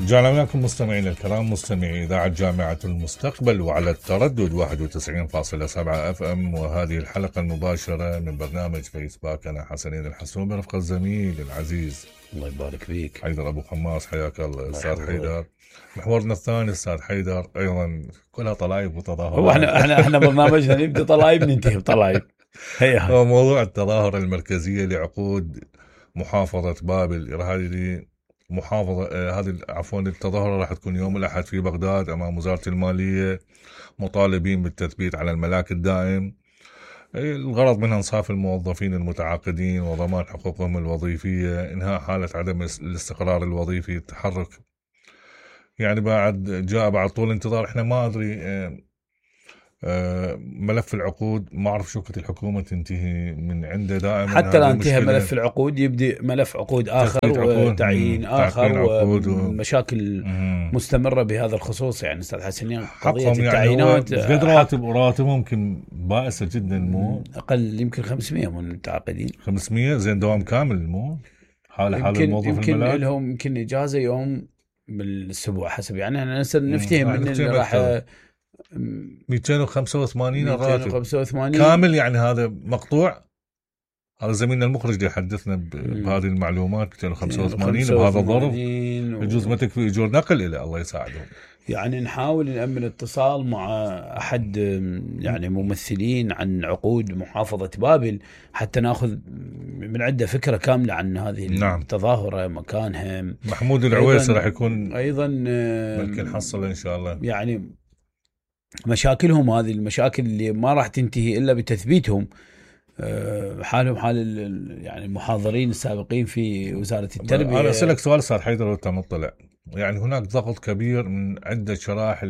رجعنا وياكم مستمعين الكرام، مستمعي إذاعة جامعة المستقبل وعلى التردد 91.7 اف ام، وهذه الحلقة المباشرة من برنامج فيسباك. أنا حسنين الحسون برفقة الزميل العزيز الله يبارك فيك حيدر أبو خماس. حياك الله أستاذ حيدر. محورنا الثاني أستاذ حيدر، أيضا كلها طلايب وتظاهرات. هو احنا برنامجنا نبدأ طلايب ننتهي بطلايب. هو موضوع التظاهرة المركزية لعقود محافظة بابل. هذه محافظة هذه عفوا التظاهرة راح تكون يوم الأحد في بغداد أمام وزارة المالية، مطالبين بالتثبيت على الملاك الدائم. الغرض منها إنصاف الموظفين المتعاقدين وضمان حقوقهم الوظيفية، إنهاء حالة عدم الاستقرار الوظيفي، التحرك. يعني بعد طول انتظار. احنا ما أدري ملف العقود، ما أعرف شو كانت الحكومة تنتهي من عنده دائما. حتى لا انتهى ملف العقود يبدأ ملف عقود آخر وتعيين آخر ومشاكل مستمرة بهذا الخصوص. يعني أستاذ حسنين قضية التعيينات يعني راتب ممكن بائسة جدا، مو أقل يمكن 500 من المتعاقدين. 500 زين دوام كامل، مو حال الموظف يمكن الملاك. لهم يمكن إجازة يوم بالأسبوع حسب. يعني أنا نفتهم من اللي راح 285 الراتب 285 كامل. يعني هذا مقطوع. هذا زميلنا المخرج اللي يحدثنا بهذه المعلومات. 285 بهذا الظرف يجوز ما تكفي اجور نقل الى الله يساعدهم. يعني نحاول نأمن اتصال مع احد يعني ممثلين عن عقود محافظة بابل حتى ناخذ من عنده فكرة كاملة عن هذه التظاهرة، مكانها. محمود العويسي راح يكون ايضا ممكن نحصل ان شاء الله. يعني مشاكلهم هذه المشاكل اللي ما راح تنتهي إلا بتثبيتهم، حالهم حال يعني المحاضرين السابقين في وزارة التربية. أنا أسألك سؤال أستاذ حيدر وأنت مطلع. يعني هناك ضغط كبير من عدة شرائح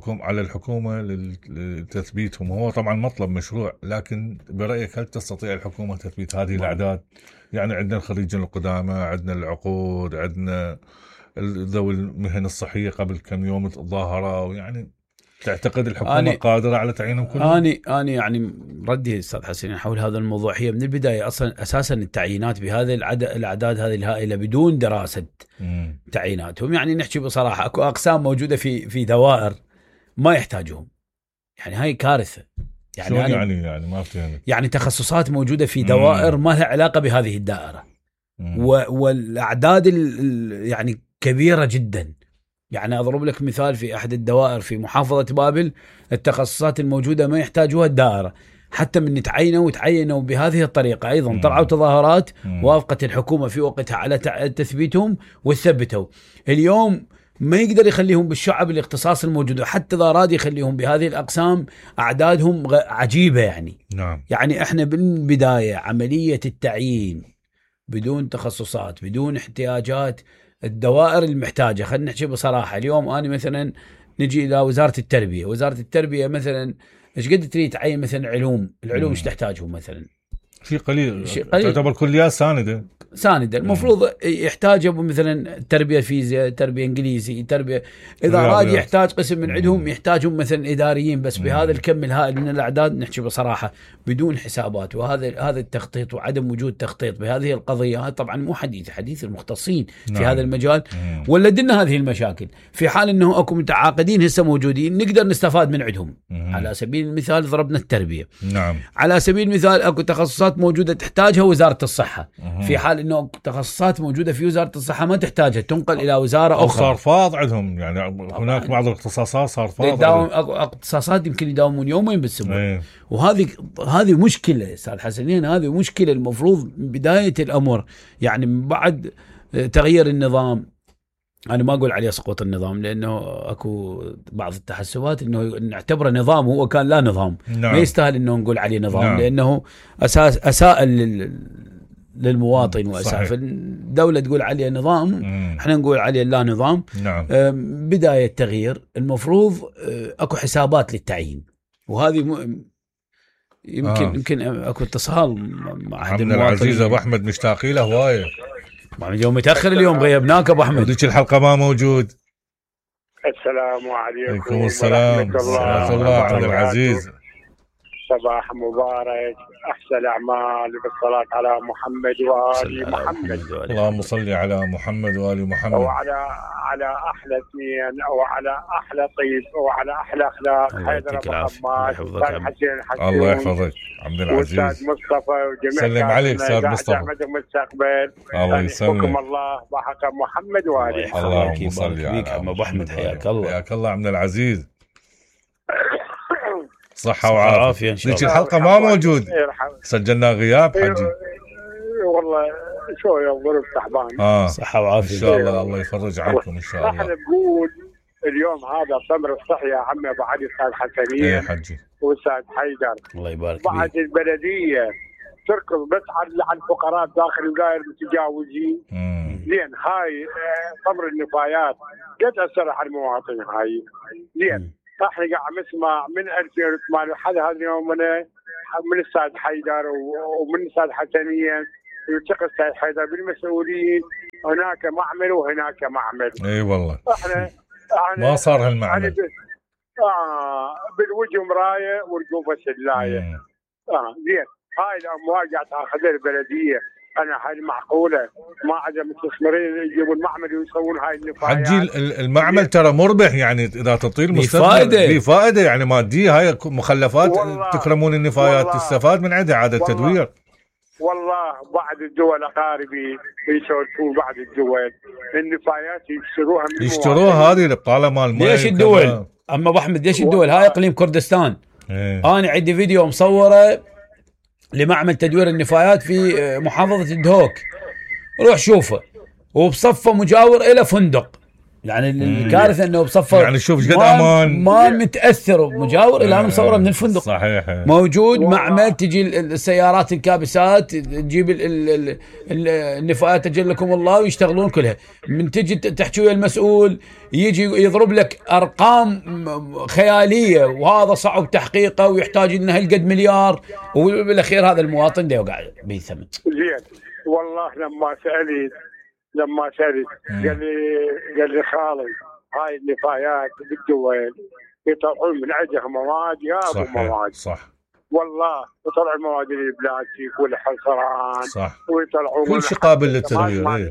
على الحكومة لتثبيتهم. هو طبعا مطلب مشروع، لكن برأيك هل تستطيع الحكومة تثبيت هذه الأعداد؟ يعني عندنا الخريجين القدامى، عندنا العقود، عندنا ذوي المهن الصحية قبل كم يوم تظاهروا. يعني تعتقد الحكومة قادرة على تعيينهم كلهم؟ أنا يعني ردي أستاذ حسين حول هذا الموضوع هي من البداية أساسا التعيينات بهذه الأعداد هذه الهائلة بدون دراسة تعييناتهم. يعني نحكي بصراحة أكو أقسام موجودة في دوائر ما يحتاجهم. يعني هاي كارثة. يعني ما فهمت. يعني تخصصات موجودة في دوائر ما لها علاقة بهذه الدائرة، والأعداد يعني كبيرة جدا. يعني أضرب لك مثال، في أحد الدوائر في محافظة بابل التخصصات الموجودة ما يحتاجوها الدائرة. حتى من تعينوا بهذه الطريقة. أيضا طلعوا تظاهرات وافقت الحكومة في وقتها على تثبيتهم وثبتوا. اليوم ما يقدر يخليهم بالشعب الاختصاص الموجود، حتى إذا أراد يخليهم بهذه الأقسام أعدادهم عجيبة. يعني إحنا بالبداية عملية التعيين بدون تخصصات بدون احتياجات الدوائر المحتاجة. خلينا نحكي بصراحة. اليوم أنا مثلا نجي إلى وزارة التربية مثلا إيش قد تريد تعين مثلا العلوم إيش تحتاجهم مثلا؟ شيء قليل. تعتبر كليات ساندة. المفروض يحتاج مثلا تربية فيزياء، تربية انجليزي، تربية اذا اراد يحتاج قسم من عندهم يحتاجهم مثلا اداريين. بس بهذا الكم الهائل من الاعداد نحكي بصراحة بدون حسابات. وهذا التخطيط وعدم وجود تخطيط بهذه القضية طبعا مو حديث المختصين في هذا المجال ولدنا هذه المشاكل. في حال انه اكو متعاقدين هسه موجودين نقدر نستفاد من عندهم. على سبيل المثال ضربنا التربية. على سبيل المثال اكو تخصصات موجودة تحتاجها وزارة الصحة. في حال انه تخصصات موجودة في وزارة الصحة ما تحتاجها تنقل الى وزارة اخرى. صار فاض عندهم. يعني هناك بعض الاختصاصات صار فاض. اختصاصات يمكن يداومون يومين بالاسبوع. وهذه مشكلة استاذ حسنين. هذه مشكلة المفروض بداية الامر. يعني من بعد تغيير النظام، أنا ما أقول عليه سقوط النظام لأنه أكو بعض التحسبات إنه نعتبره نظام هو كان لا نظام. ما يستاهل إنه نقول عليه نظام لأنه أساء للمواطن وأساء. فالدولة تقول عليه نظام، إحنا نقول عليه لا نظام. بداية تغيير المفروض أكو حسابات للتعيين. وهذه يمكن أكو اتصال مع أحد المواطنين. العزيز أبو أحمد مشتاقي له هواية. يوم متأخر اليوم غيبناك أبو أحمد. وديك الحلقة ما موجود. السلام عليكم. عليكم السلام ورحمة الله عبد العزيز. صباح مبارك. أحسن الأعمال بالصلاة على محمد وآل محمد. اللهم صل على محمد وآل محمد. وعلى على احلى اثنين وعلى احلى طيب وعلى احلى اخلاق حيدر ابو حماد والاستاذ حسين حسين. الله يحفظك عبد العزيز. والاستاذ مصطفى وجميع سلم عليك استاذ مصطفى. المستقبل. الله يسلمك. الله بحق محمد وآله. اللهم صل على ابو احمد. حياك الله. حياك الله عبد العزيز. صحة وعافية ان شاء الله. ذيك الحلقة ما موجود، سجلنا غياب حجي. والله شوية ظروف تعبان. صحة وعافية ان شاء الله. الله يفرج عنكم ان شاء الله. احنا بنقول اليوم هذا تمر الصحي يا عمي ابو علي استاذ حسنين. ايه حجي. واستاذ حيدر. الله يبارك بعد فيك. البلدية تركض بس على الفقراء داخل الدائر المتجاوزين. زين هاي تمر النفايات قد اثر على المواطن هاي. زين احنا قاعد نسمع من 2008 لحد هذا اليوم من الاستاذ حيدر ومن الاستاذ حسنين يلتقي الاستاذ حيدر بالمسؤولين، هناك معمل وهناك معمل. اي والله احنا ما صار هالمعمل. بالوجه مرايه ورقوبه سلايه. زين هاي الاموال قاعد تاخذها البلديه، انا هاي معقوله ما عدا مستثمرين يجيبون المعمل ويسوون هاي النفايات. حجي المعمل ترى مربح، يعني اذا تعطيه المستثمر فائده، فائده يعني ماديه. هاي مخلفات تكرمون النفايات تستفاد من عندها عاده تدوير. والله بعض الدول اقاربي يسولفون، بعض الدول النفايات يشتروها من يشتروها هذه الابطاله مال الماء. ليش الدول؟ اما ابو احمد ليش الدول؟ هاي اقليم كردستان. انا عندي فيديو مصوره لمعمل تدوير النفايات في محافظة الدهوك، روح شوفه، وبصفه مجاور إلى فندق. يعني الكارثة انه بصفه يعني شوف قد امان، ما متأثر مجاور الى انا مصوره من الفندق. صحيح. موجود معمل، تجي السيارات الكابسات تجيب النفايات اجلكم الله ويشتغلون كلها. من تجي تحكي ويا المسؤول يجي يضرب لك ارقام خيالية، وهذا صعب تحقيقه ويحتاج لنا هالقد مليار، وبالاخير هذا المواطن ده يوقع بثمن. زين والله لما سألت قال لي خالد هاي النفايات بالدول يطلعون من عندها مواد يا ابو مواد. صح والله يطلعون مواد البلاستيك والحصران. صح. ويطلعون كل شيء قابل للتدوير.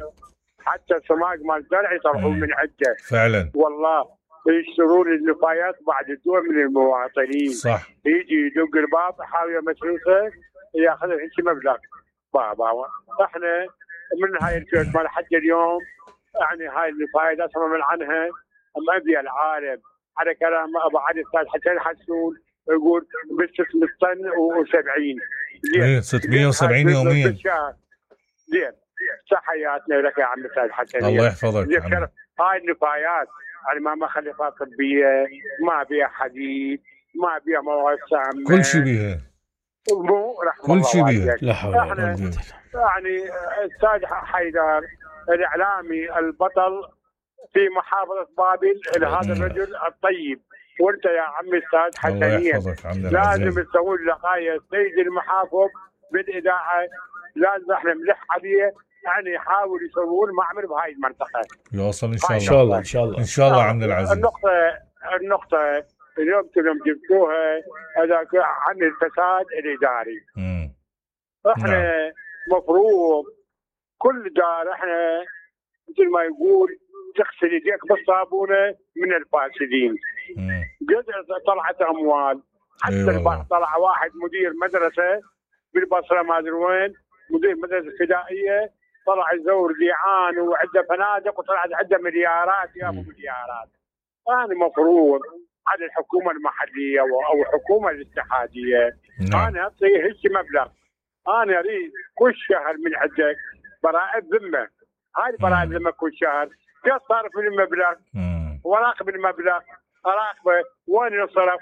حتى السماق مال الزرع يطلعون من عنده فعلا. والله يشترون النفايات بعد الدول من المواطنين. صح. يجي يدق الباب حاويه مسروسه ياخذ هيك مبلغ بابا. احنا من هاي الفئات مال حتى اليوم يعني هاي النفايات اسمع من عنها مبيع العالم على كلام ابو علي استاذ حسين حسون يقول ب 600 طن و70. ايه 670 يوميا. زين تحياتنا لك يا عم استاذ حسين. الله يحفظك. هاي النفايات يعني ما مخلفات طبيه، ما بيها حديد، ما بيها مواد سامه، كل شيء بيها. كل شيء بيها. لا حول ولا قوه. يعني استاذ حيدر الاعلامي البطل في محافظه بابل هذا الرجل الطيب، وانت يا عمي استاذ حسنين لازم تسوون لقايه السيد المحافظ بالاذاعه، لازم احنا نلح عليه يعني يحاول يسوون معمل بهاي المنطقه. يوصل ان شاء الله. ان شاء الله ان شاء الله ان شاء الله عبد العزيز. النقطه اليوم جبتوها هذا عن الفساد الاداري. احنا مفروض كل دار احنا مثل ما يقول تغسل يديك بالصابونه من الفاسدين. قد طلعت اموال حتى طلع واحد مدير مدرسه بالبصره ما ادري وين، مدير مدرسه فدائيه طلع يزور ليعان وعنده فنادق وطلعت عنده مليارات يا ابو مليارات. انا مفروض على الحكومه المحليه او الحكومه الاتحاديه انا اعطيه هيك مبلغ، انا اريد كل شهر من عندك براءة ذمه. هاي براءة ذمه كل شهر كيف صارف المبلغ وراقب المبلغ، اراقبه وين ينصرف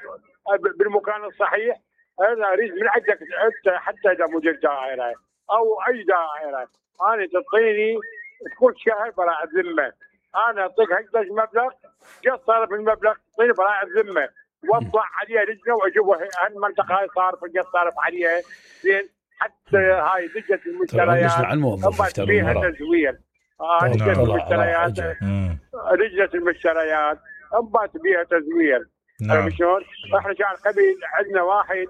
بالمكان الصحيح. انا اريد من عندك انت حتى اذا مدير دائره او اي دائره انا تعطيني كل شهر براءة ذمه، انا اعطيك هكذا مبلغ كيف صارف المبلغ تعطيني براءة ذمه واطلع عليها لجنه واجيبها هالمنطقه هاي صارف كيف صارف عليها زين. حتى هاي لجنه المشتريات فيها تزوير. لجنه المشتريات لجنه المشتريات انبات بيها تزوير. شلون؟ احنا كان قبل عندنا واحد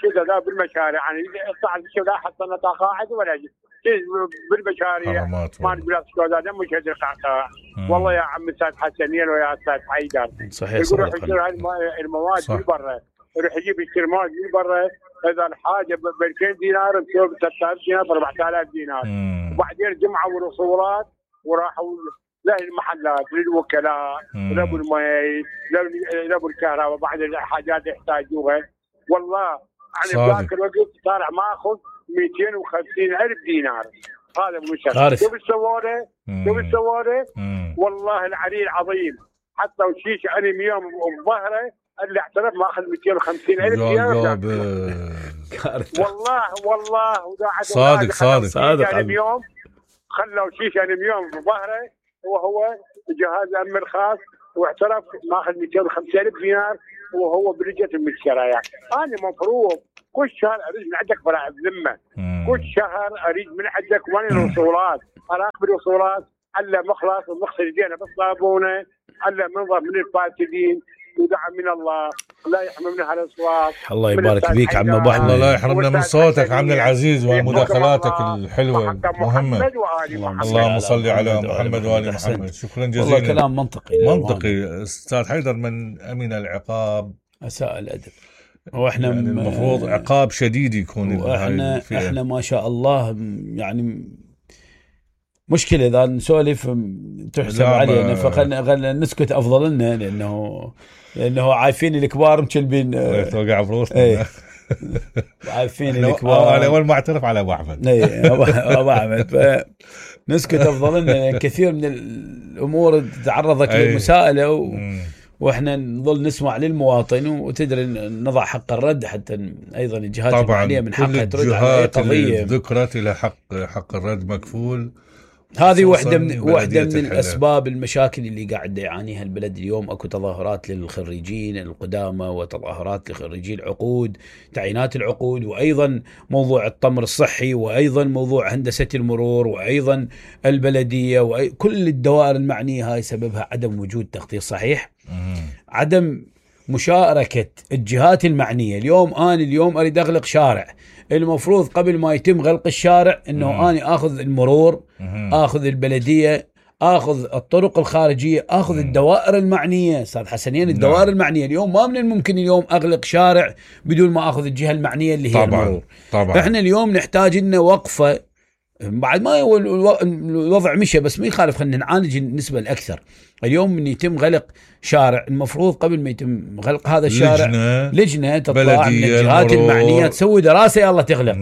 كذا لا بالمشاريع يعني صعد الشغل حطنا قاعد ولا بالمشاريع ما نقول هذا دم مش هدر قاعد. والله يا عم استاذ حسنين ويا استاذ حيدر صحيح يقول يشتري المواد من برا يروح يجيب يشتري مواد من برا اذا الحاجه ب 2000 دينار بتسوي ب 3000 دينار ب 4000 دينار وبعدين جمعوا الوصولات وراحوا للمحلات للوكلاء لابو المي لابو الكهرباء بعض الحاجات يحتاجوها. والله انا ذاك الوقت طالع ماخذ 250,000 دينار. هذا مشكله. شوف السواره شوف السواره والله العلي العظيم حتى وشيش انيميوم بظهره اللي اعترف ماخذ 250,000 دينار. والله صادق انيميوم خلوا شيش انيميوم بظهره وهو جهاز امن الخاص واعترف ماخذ 250,000 دينار وهو برجة المشتريات. انا مفروض كل شهر اريد من عندك براءة ذمه كل شهر اريد من عندك وين الوصولات اراقب الوصولات الا مخلص ومغسل يدينا بالصابونه الا منظر من الفاسدين ودعم من الله لا يحرمنا هالاصوات. الله يبارك فيك عم ابو احمد. الله لا يحرمنا من صوتك عمنا العزيز ومداخلاتك الحلوه المهمه. اللهم صل على محمد وآل محمد. شكرا جزيلا. والله كلام منطقي. استاذ حيدر من امن العقاب اساء الادب واحنا يعني المفروض عقاب شديد يكون. واحنا ما شاء الله يعني مشكلة إذا نسولف تحسب علينا فخلنا نسكت أفضل لنا لأنه عارفين الكبار مكلبين توقع بروسنا. عارفين الكبار. أنا أول ما أعترف على أبو أحمد. أبو أحمد فنسكت أفضل لنا. كثير من الأمور تعرضت للمساءلة وإحنا نظل نسمع للمواطن وتدري نضع حق الرد حتى أيضا الجهات المعنية من حقها ترد على أي قضية. ذكرت إلى حق الرد مكفول. هذه واحدة من الأسباب المشاكل اللي قاعد يعانيها البلد اليوم. أكو تظاهرات للخريجين القدامى وتظاهرات لخريجي العقود تعيينات العقود وأيضا موضوع التمر الصحي وأيضا موضوع هندسة المرور وأيضا البلدية وكل الدوائر المعنية. هاي سببها عدم وجود تخطيط صحيح عدم مشاركة الجهات المعنية. اليوم أريد أغلق شارع المفروض قبل ما يتم غلق الشارع انه اني اخذ المرور اخذ البلدية اخذ الطرق الخارجية اخذ الدوائر المعنية. استاذ حسنين الدوائر المعنية اليوم ما من الممكن اليوم اغلق شارع بدون ما اخذ الجهة المعنية اللي هي المرور. طبعا احنا اليوم نحتاج لنا وقفة بعد ما الوضع مشى بس ما يخالف خلينا نعالج النسبة الأكثر. اليوم من يتم غلق شارع المفروض قبل ما يتم غلق هذا الشارع لجنة تطلع من الجهات المعنية تسوي دراسة يلا تغلق.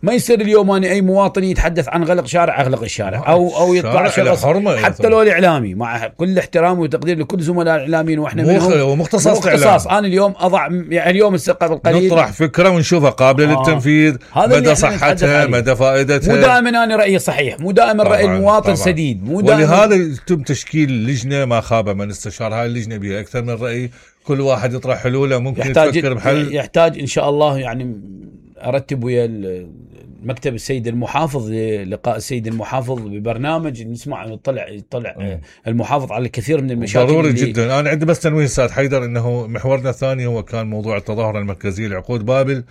ما يصير اليوم أنا أي مواطن يتحدث عن غلق شارع أغلق الشارع أو يطلع شخص حتى لو الإعلامي مع كل احترام وتقدير لكل زملاء الإعلاميين وإحنا منهم مختصاص. أنا اليوم أضع يعني اليوم قبل قليل نطرح فكرة ونشوفها قابلة للتنفيذ مدى صحتها مدى فائدتها. مو دائما أنا رأيي صحيح مو دائما رأي المواطن سديد ولهذا يتم تشكيل لجنة ما خاب من استشار. هاي اللجنة بها أكثر من رأي كل واحد يطرح حلوله ممكن يفكر بحل. يحتاج إن شاء الله يعني أرتب ويا مكتب السيد المحافظ لقاء السيد المحافظ ببرنامج نسمع يطلع المحافظ على الكثير من المشاكل. ضروري جدا. أنا عندي بس تنويه أستاذ حيدر إنه محورنا الثاني هو كان موضوع التظاهرة المركزية لعقود بابل.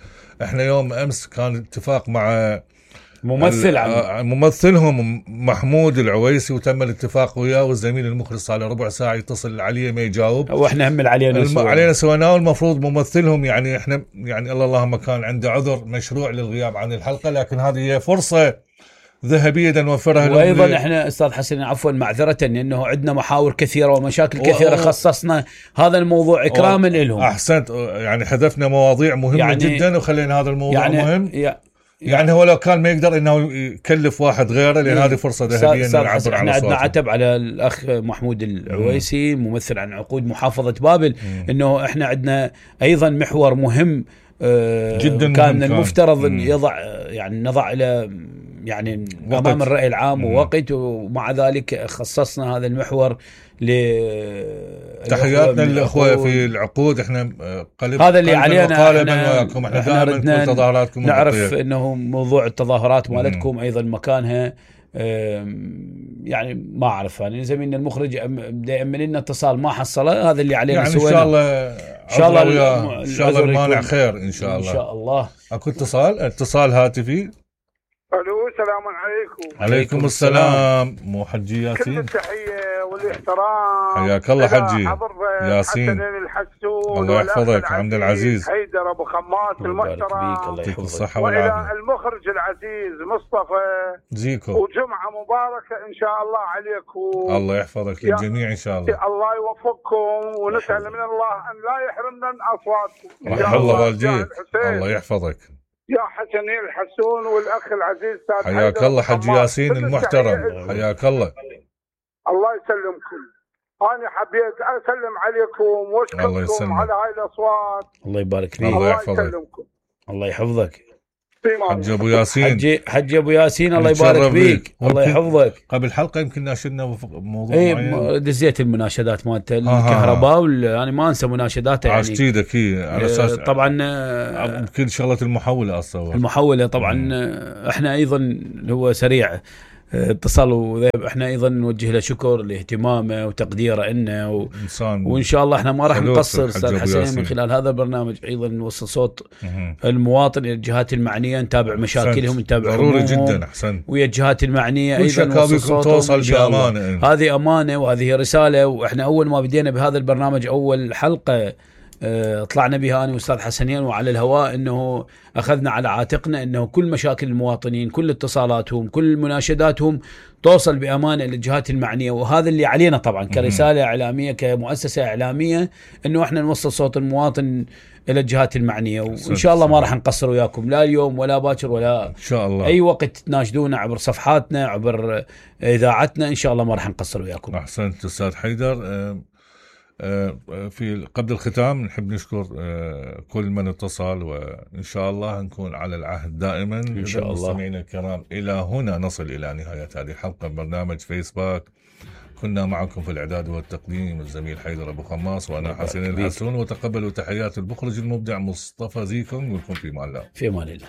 إحنا يوم أمس كان اتفاق مع ممثلهم محمود العويسي وتم الاتفاق وياه والزميل المخرج صار له ربع ساعة يتصل عليه ما يجاوب واحنا هم علينا سويناه. والمفروض ممثلهم يعني احنا يعني اللهم كان عنده عذر مشروع للغياب عن الحلقة لكن هذه هي فرصة ذهبية نوفرها. وأيضا احنا أستاذ حسن عفوا معذرة لأنه عندنا محاور كثيرة ومشاكل كثيرة خصصنا هذا الموضوع إكراما لهم. أحسنت يعني حذفنا مواضيع مهمة يعني جدا وخلينا هذا الموضوع مهم يعني هو لو كان ما يقدر انه يكلف واحد غيره لان هذه فرصه ذهبيه انه نعبر على صوته. احنا عندنا عتب على الاخ محمود العويسي ممثل عن عقود محافظه بابل انه احنا عندنا ايضا محور مهم جدا كان المفترض يضع يعني نضع الى يعني امام الراي العام ووقت ومع ذلك خصصنا هذا المحور تحياتنا للاخوه في العقود. احنا هذا اللي علينا احنا دائما كل تظاهراتكم نعرف انه موضوع التظاهرات مالتكم ايضا مكانها يعني ما اعرف يعني زميلنا المخرج بدا يأمن لنا اتصال ما حصله. هذا اللي علينا يعني ان شاء الله ان شاء الله ان شاء الله المانع خير ان شاء الله. ان شاء الله. اكو اتصال هاتفي. الو السلام عليكم. عليكم السلام. مو حجي ياسين؟ كل التحيه والاحترام. حياك الله حجي ياسين. الحسون الله يحفظك. عبد العزيز حيدر ابو خماس المحترم. يعطيك الصحه والعافيه. والى المخرج العزيز مصطفى زيكو. وجمعه مباركه ان شاء الله عليكم. الله يحفظك للجميع ان شاء الله. الله يوفقكم ونسال من الله ان لا يحرمنا من اصواتكم. رحم الله والديك. الله يحفظك. يا حسنين الحسون والاخ العزيز استاذ حياك الله حج ياسين المحترم. حياك الله. الله يسلمكم. انا حبيت اسلم عليكم واشكركم على هاي الاصوات. الله يبارك فيك. الله يحفظك. الله يحفظك. حج ابو ياسين. حج ابو ياسين الله يبارك فيك. الله يحفظك. قبل حلقه يمكن ناشدنا موضوع معين. دزيت المناشدات مالته الكهرباء يعني ما انسى مناشداته يعني. عشت ايدك على اساس طبعا كل شغله المحوله اصلا. المحوله طبعا احنا ايضا هو سريع اتصال وذيب. احنا ايضا نوجه له شكر لاهتمامه وتقديره لنا وان شاء الله احنا ما راح نقصر استاذ حسين من خلال هذا البرنامج ايضا نوصل صوت المواطن الى الجهات المعنيه، نتابع مشاكلهم، نتابع ضروري جدا. احسن. ويا الجهات المعنيه ايضا نوصل صوتهم توصل بامانه. هذه امانه وهذه رساله. واحنا اول ما بدينا بهذا البرنامج اول حلقه طلعنا بها انا واستاذ حسنين وعلى الهواء انه اخذنا على عاتقنا انه كل مشاكل المواطنين، كل اتصالاتهم، كل مناشداتهم توصل بامانه للجهات المعنيه. وهذا اللي علينا طبعا كرساله اعلاميه كمؤسسه اعلاميه انه احنا نوصل صوت المواطن الى الجهات المعنيه. وان شاء الله ما راح نقصر وياكم لا اليوم ولا باكر ولا ان شاء الله اي وقت تناشدونا عبر صفحاتنا عبر اذاعتنا. ان شاء الله ما راح نقصر وياكم. احسنت استاذ حيدر. في قبل الختام نحب نشكر كل من اتصل وإن شاء الله نكون على العهد دائما. إن شاء الله. مستمعينا الكرام إلى هنا نصل إلى نهاية هذه الحلقة من برنامج فيسباك. كنا معكم في الإعداد والتقديم الزميل حيدر أبو خماس وأنا حسين الحسون. وتقبلوا تحيات المخرج المبدع مصطفى زيكم. ولكم في أمان الله. في أمان الله.